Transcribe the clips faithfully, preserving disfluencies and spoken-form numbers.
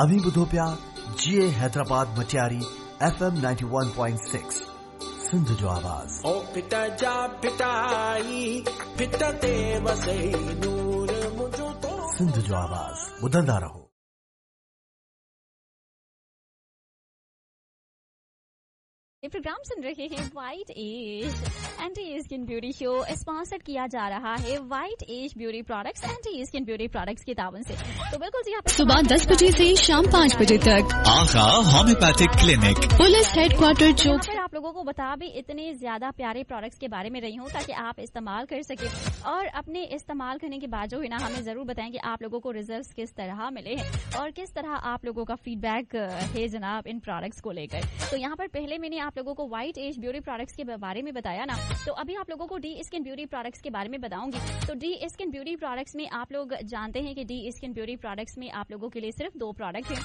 अव्हीं ॿुधो पिया जी Hyderabad Matiari F M ninety one point six Sindh जो आवाज़। ओ पिता जा पिताई पित ते वसई नूर मुंहिंजो तो सिंध जो आवाज़ ॿुधंदा रहो। ये प्रोग्राम सुन रहे हैं white age anti skin beauty show, sponsored किया जा रहा है white age beauty products anti skin beauty products के तावन से। तो बिल्कुल जी, आप सुबह दस बजे से शाम पाँच बजे तक Agha homeopathic clinic, police headquarter चौक। फिर आप लोगों को बता भी इतने ज्यादा प्यारे प्रोडक्ट्स के बारे में रही हूँ ताकि आप इस्तेमाल कर सके और अपने इस्तेमाल करने के बाद जो है ना हमें जरूर बताएं कि आप लोगों को रिजल्ट किस तरह मिले हैं और किस तरह आप लोगों का फीडबैक है जनाब इन प्रोडक्ट्स को लेकर। तो यहाँ पर पहले मैंने आप लोगों को व्हाइट एज ब्यूटी प्रोडक्ट्स के बारे में बताया ना, तो अभी आप लोगों को डी स्किन ब्यूटी प्रोडक्ट्स के बारे में बताऊंगी। तो डी स्किन ब्यूटी प्रोडक्ट्स में आप लोग जानते हैं कि डी स्किन ब्यूटी प्रोडक्ट्स में आप लोगों के लिए सिर्फ दो प्रोडक्ट हैं,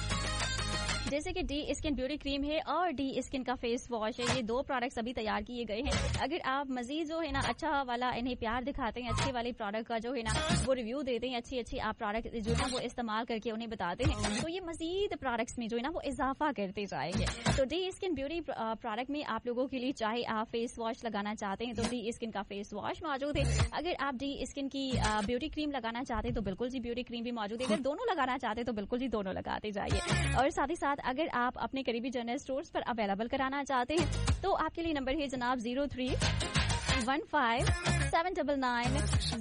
जैसे कि डी स्किन ब्यूटी क्रीम है और डी स्किन का फेस वॉश है। ये दो प्रोडक्ट्स अभी तैयार किए गए हैं। अगर आप मजीद जो है ना अच्छा वाला इन्हें प्यार दिखाते हैं, अच्छे वाले प्रोडक्ट का जो है ना वो रिव्यू देते हैं, अच्छी अच्छी आप प्रोडक्ट जो है ना वो इस्तेमाल करके उन्हें बताते हैं, तो ये मजीद प्रोडक्ट्स में जो है ना वो इजाफा करते जाएंगे। तो डी स्किन ब्यूटी प्रोडक्ट में आप लोगों के लिए चाहे आप फेस वॉश लगाना चाहते हैं तो डी स्किन का फेस वॉश मौजूद है। अगर आप डी स्किन की ब्यूटी क्रीम लगाना चाहते हैं तो बिल्कुल जी ब्यूटी क्रीम भी मौजूद है। अगर दोनों लगाना चाहते हैं तो बिल्कुल जी दोनों लगाते जाइए। और साथ ही साथ अगर आप अपने करीबी जनरल स्टोर्स पर अवेलेबल कराना चाहते हैं तो आपके लिए नंबर है जनाब zero three one five seven double nine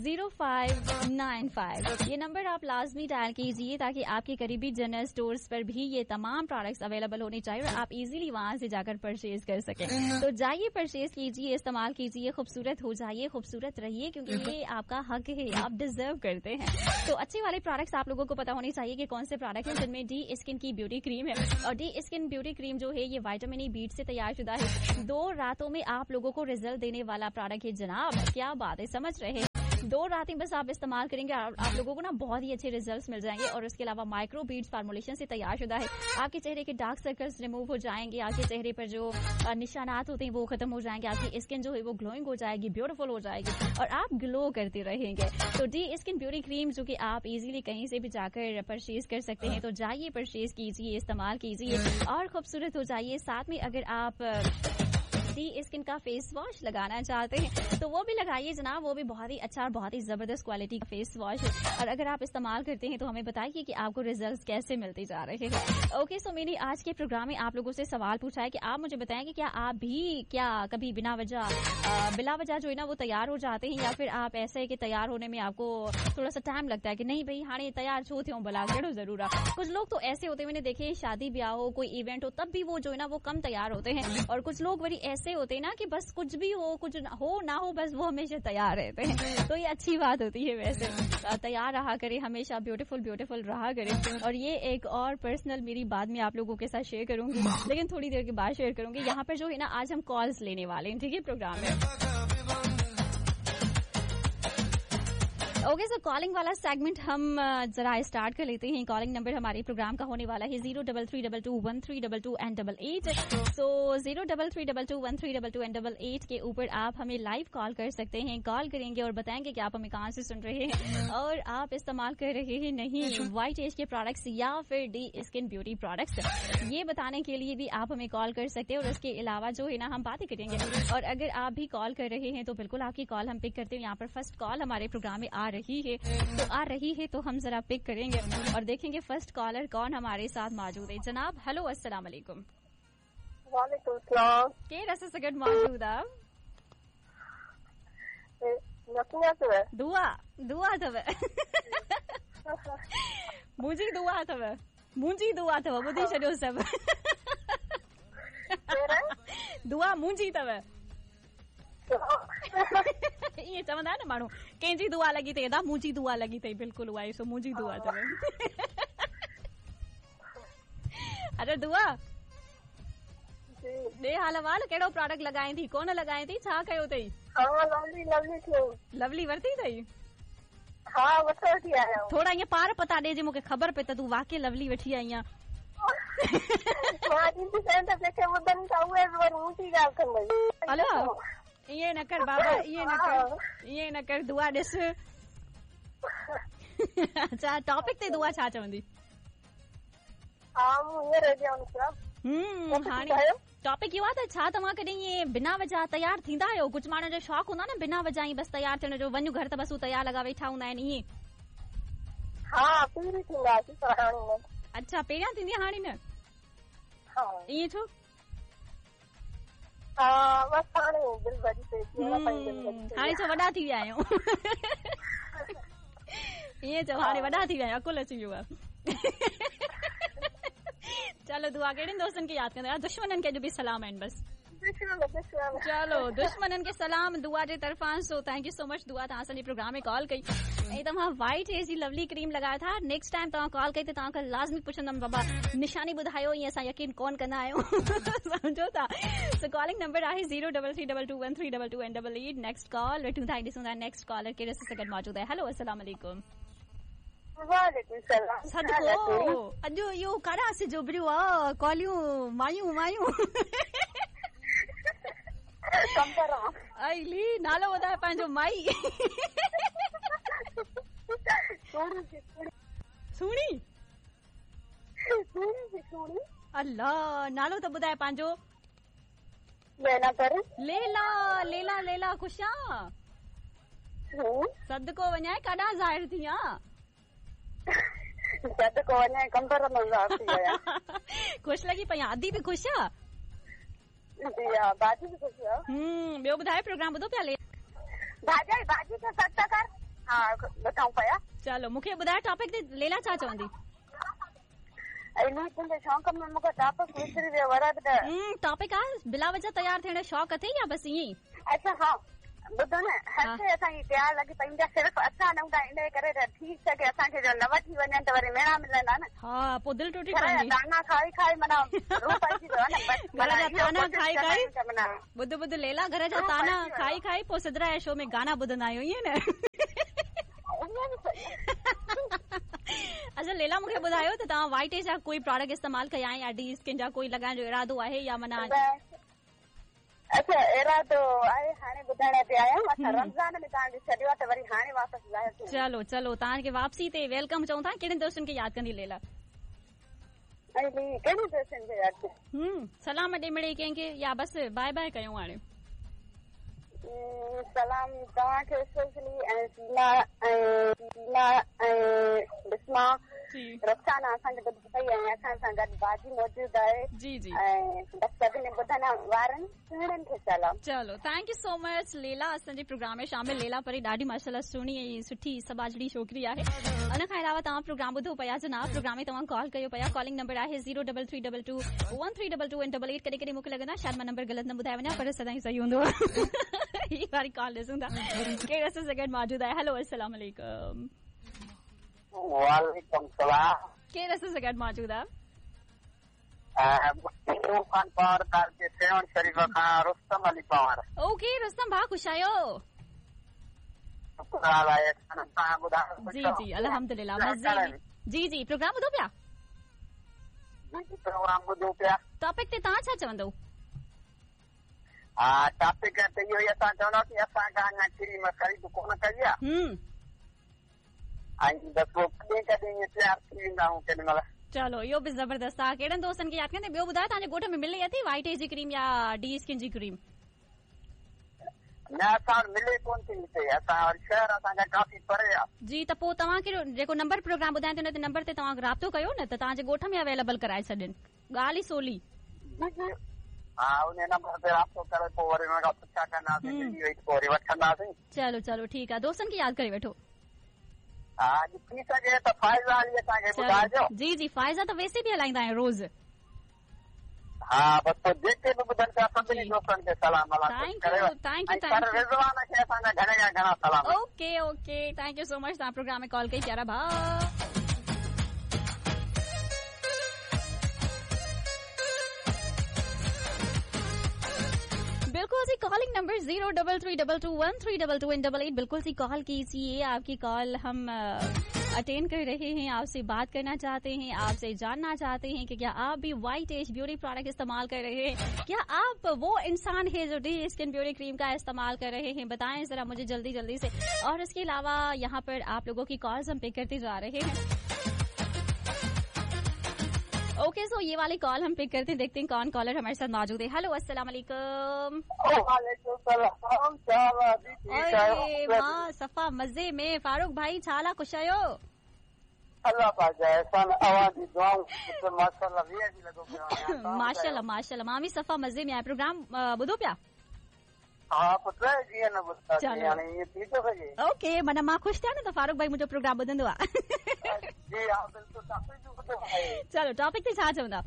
zero five nine five. ये नंबर आप लाजमी डायल कीजिए ताकि आपके करीबी जनरल स्टोर्स पर भी ये तमाम प्रोडक्ट्स अवेलेबल होने चाहिए और आप इजीली वहां से जाकर परचेज कर सकें। तो जाइए, परचेज कीजिए, इस्तेमाल कीजिए, खूबसूरत हो जाइए, खूबसूरत रहिए, क्योंकि ये आपका हक है, आप डिजर्व करते हैं। तो अच्छे वाले प्रोडक्ट्स आप लोगों को पता होने चाहिए कि कौन से प्रोडक्ट हैं जिनमें डी स्किन की ब्यूटी क्रीम है। और डी स्किन ब्यूटी क्रीम जो है ये विटामिन ई बीट से तैयार शुदा है। दो रातों में आप लोगों को रिजल्ट देने वाला प्रोडक्ट है जनाब। क्या बात है, समझ रहे हैं? दो रातें बस आप इस्तेमाल करेंगे, आप, आप लोगों को ना बहुत ही अच्छे रिजल्ट्स मिल जाएंगे। और उसके अलावा माइक्रो बीड्स फार्मुलेशन से तैयार शुदा है। आपके चेहरे के डार्क सर्कल्स रिमूव हो जाएंगे, आपके चेहरे पर जो निशानात होते हैं वो खत्म हो जाएंगे, आपकी स्किन जो है वो ग्लोइंग हो जाएगी, ब्यूटीफुल हो जाएगी और आप ग्लो करते रहेंगे। तो डी स्किन ब्यूटी क्रीम जो कि आप इजीली कहीं से भी जाकर परचेज कर सकते हैं। तो जाइए, परचेज कीजिए, इस्तेमाल कीजिए और खूबसूरत हो जाइए। साथ में अगर आप डी स्किन का फेस वॉश लगाना चाहते हैं तो वो भी लगाइए जनाब, वो भी बहुत ही अच्छा और बहुत ही जबरदस्त क्वालिटी का फेस वॉश है। और अगर आप इस्तेमाल करते हैं तो हमें बताइए कि आपको रिजल्ट्स कैसे मिलते जा रहे हैं। ओके, सो मैंने आज के प्रोग्राम में आप लोगों से सवाल पूछा है कि आप मुझे बताएं कि क्या आप भी क्या कभी बिना वजह बिला वजह जो है ना वो तैयार हो जाते हैं, या फिर आप ऐसे है कि तैयार होने में आपको थोड़ा सा टाइम लगता है कि नहीं भाई हाणे तैयार छो थियो भला कहिड़ो जरूर आहे। कुछ लोग तो ऐसे होते हैं, मैंने देखे, शादी ब्याह हो, कोई इवेंट हो, तब भी वो जो है ना वो कम तैयार होते हैं। और कुछ लोग वरी ऐसे होते हैं ना कि बस कुछ भी हो, कुछ हो ना हो, बस वो हमेशा तैयार रहते हैं। तो ये अच्छी बात होती है, वैसे तैयार रहा करे, हमेशा ब्यूटीफुल ब्यूटीफुल रहा करे। और ये एक और पर्सनल मेरी बाद में आप लोगों के साथ शेयर करूंगी, लेकिन थोड़ी देर के बाद शेयर करूंगी। यहाँ पर जो है ना आज हम कॉल्स लेने वाले हैं, ठीक है, प्रोग्राम में। ओके, सो कॉलिंग वाला सेगमेंट हम जरा स्टार्ट कर लेते हैं। कॉलिंग नंबर हमारे प्रोग्राम का होने वाला है zero double three double two one three double two and double eight. So zero double three double two one three double two and double eight के ऊपर आप हमें लाइव कॉल कर सकते हैं। कॉल करेंगे और बताएंगे कि आप हमें कहाँ से सुन रहे हैं और आप इस्तेमाल कर रहे हैं नहीं व्हाइट एज के प्रोडक्ट्स या फिर डी स्किन ब्यूटी प्रोडक्ट्स, ये बताने के लिए भी आप हमें कॉल कर सकते हैं। और उसके अलावा जो है ना हम बातें करेंगे। और अगर आप भी कॉल कर रहे हैं तो बिल्कुल आपकी कॉल हम पिक करते हैं। यहाँ पर फर्स्ट कॉल हमारे प्रोग्राम में आ रही है तो आ रही है तो हम जरा पिक करेंगे और देखेंगे फर्स्ट कॉलर कौन हमारे साथ मौजूद है। जनाब हेलो, अस्सलाम वालेकुम। वालेकुम सलाम। के रस से गड मौजूद आप? दुआ दुआ अथव, मुंहिंजी दुआ अथव, मुंहिंजी दुआ अथव, ॿुधी छॾियो सभु। दुआ मुंहिंजी अथव। ईअं चवंदा आहिनि न माण्हू, कंहिंजी दुआ लॻी अथई अदा, मुंहिंजी दुआ लॻी अथई। बिल्कुलु उहा ई, सो मुंहिंजी दुआ अथव। अरे दुआ ॾे हाल अहिवाल, कहिड़ो प्रोडक्ट लॻाए थी, कोन लॻाए थी, छा कयो अथई? लवली वरिती अथई? हा, वठी आया। थोड़ा ईअं पार पता ॾे, जे मूंखे ख़बर पए त तूं वाकई लवली वठी आई आहीं। हलो, ईअं न कर बाबा, ईअं न कर, ईअं न कर, दुआ ॾिस। अच्छा, टॉपिक ते दुआ छा चवंदी? हा, मूं हींअर रेडी आहियूं। हम्म, हाणे टॉपिक इहो आहे त छा तव्हां कॾहिं ईअं बिना वजह तयारु थींदा आहियो? कुझु माण्हुनि जो शौक़ु हूंदो आहे न बिना वजह ई बसि तयारु थियण जो, वञ घर त बसि हू तयारु लॻा वेठा हूंदा आहिनि ईअं। हा, पहिरीं थींदा हुआसीं पर हाणे न। अच्छा, पहिरियां थींदी हाणे न? हा। ईअं छो? हा, बसि हाणे दिलि भॼी पई थी, हाणे छो वॾा थी विया आहियूं। ईअं चओ, हाणे वॾा थी विया आहियूं, अकुल अची वियो आहे। चलो दुआ, कहिड़नि दोस्तनि खे यादि कंदा? दुश्मननि खे अॼु बि सलाम आहिनि बसि। चलो, दुश्मननि खे सलाम दुआ जे तरफ़ां। So thank you so much Dua, तव्हां असांजे प्रोग्राम में कॉल कई ऐं तव्हां वाइट हेयर जी लवली क्रीम लॻायो था। नेक्स्ट टाइम तव्हां कॉल कई त तव्हां खां लाज़मी पुछंदमि, बाबा निशानी ॿुधायो, ईअं असां यकीन कोन कंदा आहियूं। सम्झो था? सो कॉलिंग नंबर आहे zero double three double two one three double two and double eight. Next call वेठूं था ऐं ॾिसूं था नेक्स्ट कॉलर कहिड़े सां गॾु मौजूदु आहे। हेलो, अस्सलाम वालेकुम। वालेकुम सलाम। सदको, अॼु इहो काॾां सिज उभरियो आहे, कॉलियूं मायूं मायूं। अली, नालो ॿुधाए पंहिंजो। माई सुहिणी, अल्लाह, नालो त ॿुधाए पंहिंजो। लैला। लैला, लैला, लैला, ख़ुशि आहियाँ? सदको वञाए, काॾां ज़ाहिर थी आहियाँ? सदको वञाए, कंबर मां ज़ाहिर थी आहियाँ। ख़ुशि लॻी पई आहियाँ। अदी बि ख़ुशि आहे? जी हा, भाॼी बि ख़ुशि आहे। हम्म, ॿियो ॿुधाए, प्रोग्राम ॿुधो पिया? भाॼाई, भाॼी खे सट कर। हा, ॿुधाऊं पिया। चलो, मूंखे ॿुधाए टॉपिक ते लैला छा चवंदी? इन्ही तुंहिंजे शौक़ में मूंखे टॉपिक विसरी वियो वरे बि त। हम्म, टॉपिक आहे बिला वजह तयारु थियण जो शौक़ु अथई या बसि ईअं ई? अच्छा, हा, ॿुधो न, हर शइ असांजी तयारु लॻी पई हूंदी आहे, सिर्फ़ु असां न हूंदा, इन करे त थी सघे असांखे जो न वठी वञनि त वरी मेणा मिलंदा न। हा, पोइ दिलि टुटी पवंदी। ताना खाई खाई माना रूह पइजी वियो न, बसि घर जा ताना खाई खाई। ॿुध ॿुध लैला, घर जा ताना खाई खाई पोइ सिदरा जे शो में गाना ॿुधंदा आहियूं, ईअं न? अच्छा लैला, मूंखे ॿुधायो त तव्हां वाइट जा कोई प्रोडक्ट इस्तेमालु कया या डी स्किन जा कोई लॻाइण जो इरादो आहे या माना? अच्छा, इरादो आहे, हाणे ॿुधाइण ते आया। असां रमज़ान में तव्हांखे छॾियो आहे त वरी हाणे वापसि ज़ाहिर थी। चलो चलो, तव्हांखे वापसी ते welcome चऊं था। कहिड़नि दोस्तनि खे यादि कंदी लैला? कहिड़े दोस्तनि खे यादि? हम्म, सलाम ॾे मिड़े कंहिंखे या बसि बाय बाय कयूं हाणे? सलाम तव्हांखे स्पेशली ऐं सीमा ऐं सीमा ऐं बिस्मा, रुखसाना असांखे ॿुधी पई ऐं असां सां गॾु भाॼी मौजूदु आहे। जी जी, ऐं बसि सभिनी ॿुधण वारनि सुहिणनि खे सलाम। चलो, thank you so much Laila, असांजे प्रोग्राम में शामिल। लैला परी ॾाढी माशाल्लाह सुहिणी ऐं सुठी सबाजड़ी छोकिरी आहे। उन खां अलावा तव्हां प्रोग्राम ॿुधो पिया जनाब, प्रोग्राम में तव्हां कॉल कयो पिया। कॉलिंग नंबर आहे zero double three double two one three double two and double eight. कॾहिं कॾहिं मूंखे लॻंदो आहे शायदि मां नंबर ग़लति न ॿुधाए वञा, पर सदाईं सही हूंदो आहे। हीअ वारी कॉल ॾिसूं था कहिड़े असां सां गॾु मौजूदु आहे। हेलो, अस्सलाम वालेकुम। वालेकुम सलाम। केरु असां सां गॾु मौजूदु आहे? खान पवार, तालके सेवण शरीफ़ खां रुस्तम अली पवार। ओके रुस्तम भाउ, ख़ुशि आहियो? जी जी, अल्हम्दुलिल्लाह, मज़े में। जी जी, प्रोग्राम ॿुधो पिया? प्रोग्राम ॿुधो पिया। टॉपिक ते तव्हां छा चवंदव? हा, टॉपिक ते इहो ई असां चवंदासीं, असां खां अञा क्रीम ख़रीद कोन कई आहे। हम्म, ऐं बसि पोइ कॾहिं कॾहिं ईअं तयारु थी वेंदा आहियूं केॾी महिल। चलो, इहो बि ज़बरदस्त आहे। कहिड़नि दोस्तनि खे यादि कंदे? ॿियो ॿुधायो, तव्हांजे ॻोठ में मिले थी वाइट हेयर जी क्रीम या डी स्किन जी क्रीम? न, असां वटि मिले कोन थी हिते, असां वटि शहर असांजा काफ़ी परे आहे। जी, त पोइ तव्हांखे जेको नंबर प्रोग्राम ॿुधायां थी उन नंबर ते तव्हां राब्तो कयो न त तव्हांजे ॻोठ में अवेलेबल कराए छॾनि, ॻाल्हि ई सोली। हा, उन नंबर ते राब्तो करे पोइ वरी हुन खां पुछा कंदासीं, मिली वई त पोइ वरी वठंदासीं। चलो चलो, ठीकु आहे, दोस्तनि खे यादि करे वठो। हा, थी सघे त फ़ाइज़ा अली असांखे ॿुधाइजो। जी जी, फ़ाइज़ा त वैसे बि हलाईंदा आहियूं रोज़। हा, बसि पोइ जेके बि ॿुधनि पिया सभिनी दोस्तनि खे सलाम। Thank you, thank you, sir Rizwan खे असांजा घणे खां घणा सलाम। Okay okay, thank you so much, तव्हां प्रोग्राम में कॉल कई, प्यारा भाउ। बिल्कुल जी, calling number zero double three double two one three double two and double eight. बिल्कुल सी कॉल कीजिए, आपकी कॉल हम अटेंड कर रहे हैं, आपसे बात करना चाहते हैं, आपसे जानना चाहते हैं कि क्या आप भी व्हाइट एज ब्यूटी प्रोडक्ट इस्तेमाल कर रहे हैं, क्या आप वो इंसान है जो डी स्किन ब्यूटी क्रीम का इस्तेमाल कर रहे हैं, बताएं जरा मुझे जल्दी जल्दी से। और इसके अलावा यहाँ पर आप लोगों की कॉल्स हम पिक करते जा रहे हैं। ओके, सो ये वाली कॉल हम पिक करते हैं, देखते हैं कौन कॉलर हमारे साथ मौजूद है। हेलो, अस्सलाम वालेकुम। अरे मां सफ़ा मज़े में। फारूक भाई छाला खुश आहियो? अल्लाह पाक जा एहसान, अवां जी दुआऊं माशाअल्लाह वीह जी लॻो पियो आहियां। माशाअल्लाह माशाअल्लाह, मां बि सफ़ा मज़े में आहियां। प्रोग्राम ॿुधो पिया? हा पुट, जीअं न ॿुधासीं, हाणे ईअं थी थो सघे। ओके, माना मां ख़ुशि थियां न त फारूक भाई मुंहिंजो प्रोग्राम ॿुधंदो आहे। जी हा बिल्कुलु, टॉपिक बि ॿुधो आहे। चलो टॉपिक ते छा चवंदा?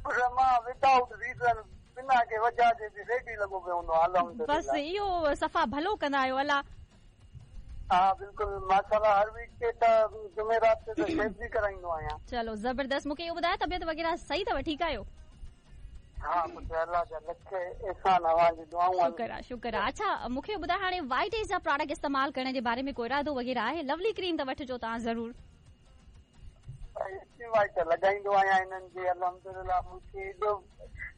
पुट मां विदाउट रीज़न, बिना के वजह जे बि रेडी लॻो पियो हूंदो आहे। अल्हम्दुलिल्लाह, बसि इहो सफ़ा भलो कंदा आहियो। अलाह हा बिल्कुलु माशाअल्लाह, हर वीक ते त जुमेरात ते त शेव बि कराईंदो आहियां। चलो ज़बरदस्त। मूंखे इहो ॿुधायो तबियत वग़ैरह सही अथव, ठीकु आहियो? हा पुट, अल्लाह जा लख एहसान, अवां जी दुआऊं। शुक्र आहे, शुक्र आहे। अच्छा मूंखे ॿुधायो हाणे वाइट एज जा प्रोडक्ट इस्तेमाल करण जे बारे में को इरादो वग़ैरह आहे? लवली क्रीम त वठिजो तव्हां ज़रूर। वाइट लॻाईंदो आहियां हिननि जी, अल्हम्दुलिल्लाह मूंखे एॾो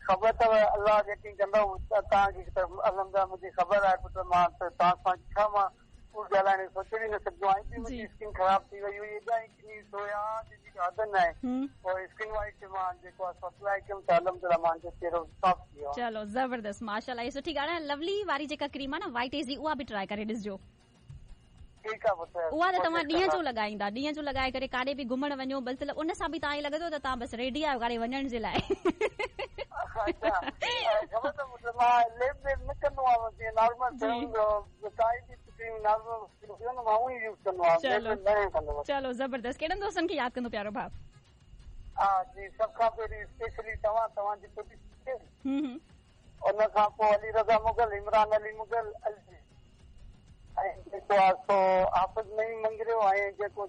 ख़बर अथव, अल्लाह जेकी कंदो तव्हांखे त अल्हम्दुलिल्लाह मुंहिंजी ख़बर आहे पुट। मां त तव्हां सां छा मां ॻाल्हाइण सोचे बि न सघंदो आहियां। मुंहिंजी स्किन ख़राब थी वई हुई, एॾा एक्नीस हुया जंहिंजी हद न आहे। पोइ स्किन वाइट मां जेको आहे अप्लाई कयुमि त अल्हम्दुलिल्लाह मुंहिंजो चहिरो साफ़ थी वियो। चलो ज़बरदस्त माशाअल्लाह, इहो सुठी ॻाल्हि आहे। लवली वारी जेका क्रीम आहे न वाइट एज जी, उहा बि ट्राई करे ॾिसजो। ठीकु आहे पुट, उहा त तव्हां ॾींहं जो लॻाईंदा, ॾींहं जो लॻाए करे काॾे बि घुमण वञो, मतिलबु उन सां बि तव्हां ईअं लॻंदो त तव्हां बसि रेडी आहियो काॾे वञण जे लाइ। अच्छा, ख़बर त पुट मां लेप वेप न कंदो आहियां, जीअं नॉर्मल काई बि क्रीम नॉर्मल मां उहा ई यूज़ कंदो आहियां, लेप न कंदो। चलो ज़बरदस्त। कहिड़नि दोस्तनि खे यादि कंदो प्यारो भाउ? हा जी, सभ खां पहिरीं स्पेशली तव्हां, तव्हांजी हम्म, उन खां पोइ अली रज़ा मुग़ल, इमरान अली मुग़ल, ऐं जेको आहे सो हाफ़िज़ नईम मंगरियो, ऐं जेको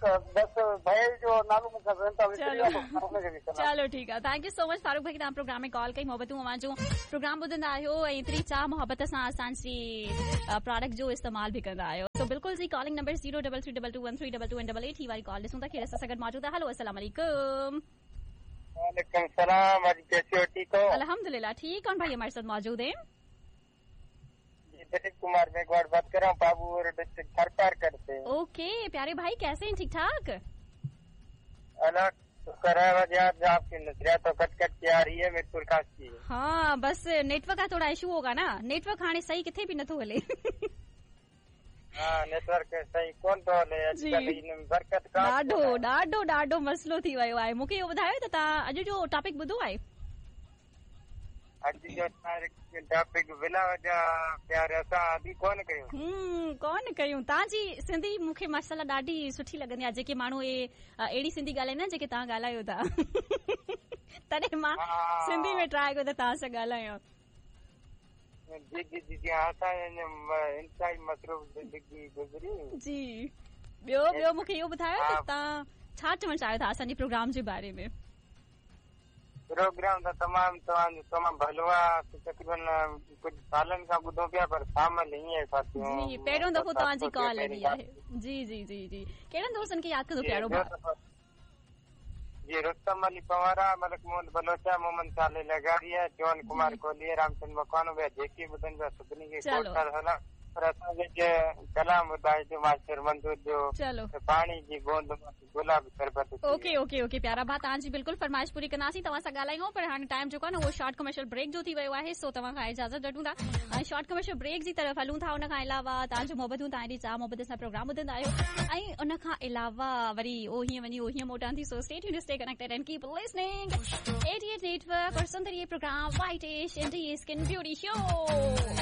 बसि भई जो नालो मूंखां विसरी वियो आहे, उनखे बि सलाम। चलो ठीकु आहे, thank you so much Farooq भाई, तव्हां प्रोग्राम में कॉल कई। मोहबतूं अव्हां जो प्रोग्राम ॿुधंदा आहियो ऐं एतिरी चाह मोहबत सां असांजी प्रोडक्ट जो इस्तेमाल बि कंदा आहियो। सो बिल्कुलु जी, calling number zero double three double two one three double two and double eight ही वारी कॉल ॾिसूं था केरु असां सां गॾु मौजूदु आहे। हेलो, अस्सलाम वालेकुम। वालेकुम सलाम, आज कैसे हो? ठीक हो? अल्हम्दुलिल्लाह ठीक। कौन भाई हमारे साथ मौजूद है? दिलीप कुमार मेघवाड़ बात कर रहा हूँ, बाबू और डिस्ट्रिक्ट थरपारकर से। ओके प्यारे भाई, कैसे हैं? ठीक ठाक? अल्लाह शुक्र है। आज आपकी नजरिया तो कट कट के आ रही है, मीरपुर खास की। हाँ बस नेटवर्क का थोड़ा इशू होगा ना, नेटवर्क हाणे सही किथे भी नथो हले। हाँ नेटवर्क सही कोन थो हले अॼुकल्ह, इन बरकत का ॾाढो ॾाढो ॾाढो मसइलो थी वियो आहे। मूंखे इहो ॿुधायो त तव्हां अॼु जो टॉपिक ॿुधो आहे? अॼु जो टॉपिक बिना वजह प्यार असां अॼु कोन कयूं। हम्म, कोन कयूं। तव्हांजी सिंधी मूंखे माशाअल्लाह ॾाढी सुठी लॻंदी आहे। जेके माण्हू इहे अहिड़ी सिंधी ॻाल्हाईंदा आहिनि जेके तव्हां ॻाल्हायो था, तॾहिं मां सिंधी में ट्राई कयो त तव्हां सां ॻाल्हायां। जी जी जी जी, असां इंतहाई मसरूफ़ ज़िंदगी गुज़री। जी ॿियो ॿियो मूंखे इहो ॿुधायो त तव्हां छा चवणु चाहियो था असांजे प्रोग्राम जे बारे में? प्रोग्राम त तमामु तव्हांजो तमामु भलो आहे। तक़रीबन कुझु सालनि खां ॿुधूं पिया, पर शामिल हीअं जी पहिरियों दफ़ो तव्हांजी कॉल लॻी आहे। जी जी जी जी, कहिड़नि दोस्तनि खे यादि कंदो प्यारो भाउ? जी रुस्तम अली पंवारा, मलिक मोहम्मद बलोचा, मोहम्मद साले लगारी, चौन कुमार कोहली, रामचंद्र मकवानो, ॿिया जेके ॿुधनि पिया सभिनी खे सलाम। पर असांखे कलाम ॿुधाइजो मास्टर मंज़ूर जो, चलो पाणी जी बूंद गुलाब शरबत। ओके ओके ओके प्यारा भाउ, तव्हांजी बिल्कुलु फरमाइश पूरी कंदासीं, तव्हां सां ॻाल्हायूं। पर हाणे टाइम जेको आहे न उहो शॉर्ट कमर्शियल ब्रेक जो थी वियो आहे, सो तव्हां खां इजाज़त वठूं था ऐं शॉर्ट कमर्शियल ब्रेक जी तरफ़ हलूं था। उन खां अलावा तव्हांजो मोहबतूं, तव्हांजी चाह मोहबत सां प्रोग्राम ॿुधंदा आहियो ऐं उन खां अलावा वरी उहो हीअं वञी उहो हीअं मोटां थी। So stay tuned, stay connected and keep listening eighty eight network और सुंदर ये programme white ash and skin beauty show.